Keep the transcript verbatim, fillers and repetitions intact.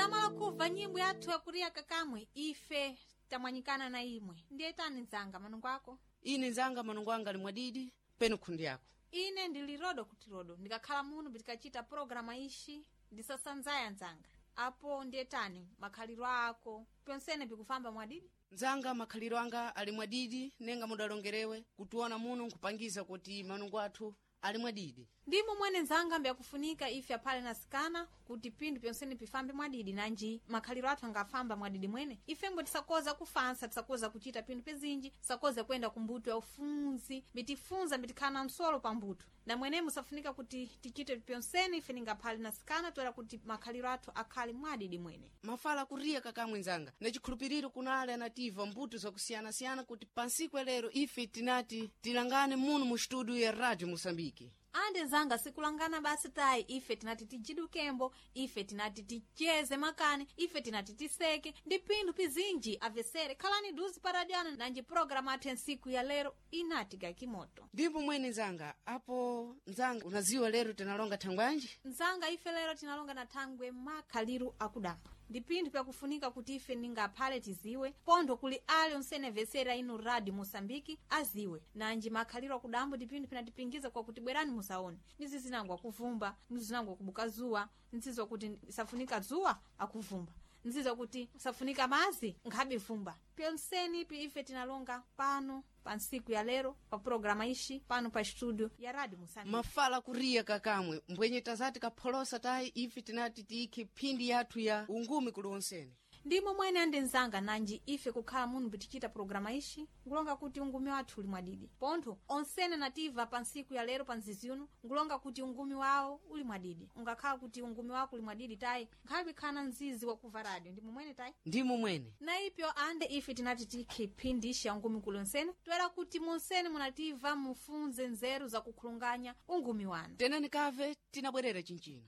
Tamala kubva nyimbo yathu yakuria kakamwe ife tamwanyikana na imwe. Ndiye tani nzanga manungo ako? Ine nzanga manungo anga ali mwadidi penu khundi yako. Ine ndili rodo kuti rodo ndikakhala muno bitikachita programa ishi ndisasanzaya nzanga. Apo ndiye tani makhaliro ako pyonsene bikufamba mwadidi? Nzanga makhaliro anga ali mwadidi nenga mudalongerewe kutiona muno nkupangiza kuti manungo athu ali mwadidi. Ndimo mwene nzanga mbyakufunika ife aphale nasikana kuti pinthu pyonsene pifambe mwadidi nanji makhaliro athu angafamba mwadidi mwene ifembo tisakoza kufansa, tisakoza kuchita pinthu pizinji, tisakoza kuyenda kumbuto ya ufunzi bitifunza bitikhala na msolo pa mbuto na mwenemo safunika kuti tichite pyonsene ife ningaphale nasikana toera kuti makhaliro athu akhale mwadidi mwene. Mafala kuriya kakamwe nzanga na chikhulupiriro kunali anativa mbuto zakusiyanasiyana kuti pansiku lero ife tinati tilangane muno mu studio ya Radio Moçambique. Ande nzanga sikulangana basi tayi, ife tinati tijidukembo, ife tinati ticheze makani, ife tinati tiseke ndi pinthu pizinji avesere. Khalani duzi paradiano nanji programu athu ya ntsiku ya lero inati gakimoto. Ndipo mwene nzanga apo nzanga unaziwa lero tinalonga thangwanji? Nzanga ife lero tinalonga na thangwe makhaliru akudamba ndi pinthu pyakufunika kuti ife ningaphale tiziwe pontho kuli ali onsene vesera inu Radio Moçambique aziwe nanji makhaliro akudambo ndi pinthu pinatipingiza kwakuti bwerani musaone nizi zinango akuvumba, nizi zinango akubuka zuwa, nzizo kuti safunika zuwa akuvumba, nzizo kuti safunika mazi nkhabe vumba. Pyonseni ipi ife tinalonga pano pa ntsiku ya lero pa programa ishi pano pa studio ya Radio Moçambique. Mafala kuriya kakamwe mbwenye tazati kapholosa tayi ife tinati tiyikhe phindi yathu ya ungumi kuli onsene. Ndimo mwene ande nzanga nanji ife kukhala muno bitichita programa ishi ngulonga kuti ungumi wathu uli mwadidi pontho onsene nativa pa ntsiku ya lero pa nzizi uno ngulonga kuti ungumi wawo uli mwadidi. Ungakhala kuti ungumi wako uli mwadidi tayi nkhabe khana mzizi wakuva radio. Ndimo mwene tayi? Ndimo mwene. Na ipyo ande ife tinati tikhe phindi ishi ya ungumi kuli onsene toera kuti munsene munativa mufunze nzeru zakukhulunganya ungumi wanu. Tenani kave tinabwerera chinchino.